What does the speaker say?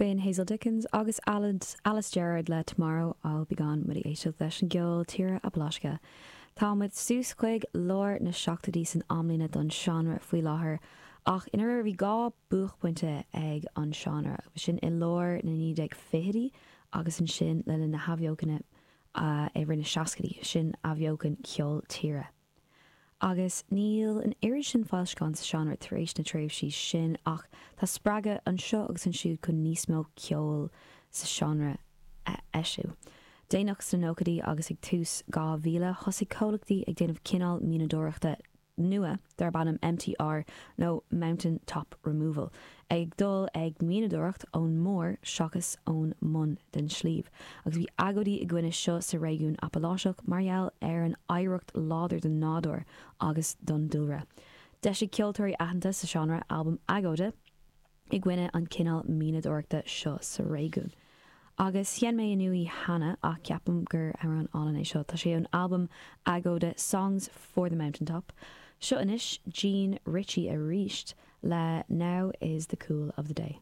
B'in Hazel Dickens agus Alice Gerrard le Tomorrow I'll Be Gone muid ag éisteacht leis an gceol tíre Apaláiseach. Tá muid suas chuig lár na seachtóidí san amlíne don seánra faoi láthair ach i ndáiríre bhí 2 buaicphointe ag an seánra, sin i lár na 1920idí agus ansin le linn na hathbheochana i rith na seascaidí, sin athbheochan ceol tíre. Agus níl an oiread sin foilseachán sa seánra tar éis na tréimhsí sin ach tá spreagadh anseo agus ansiúd chun níos mó ceoil sa seánra a eisiú. Déanach sna nóchaidí agus ag tús 2000 thosaigh comhlachtaí ag déanamh cineál mianadóireachta nua darb ainm MTR nó Mountain Top Removal, ag dul ag mianadóireacht ón mbarr seachas ón mbun den sliabh, agus bhí agóidí i gcoinne seo sa réigiún Apaláiseach mar gheall ar an oidhreacht láidir don nádúr agus don dúlra. D'eisigh ceoltóirí aitheanta sa seánra albam agóide i gcoinne an cineál mianadóireachta seo sa réigiún. Agus sheinn mé inniu í cheana ach ceapaim gur amhrán álainn é seo. Tá sé ón albam agóide Songs for the Mountaintop. Seo anois Jean Ritchie arís le Now is the Cool of the Day.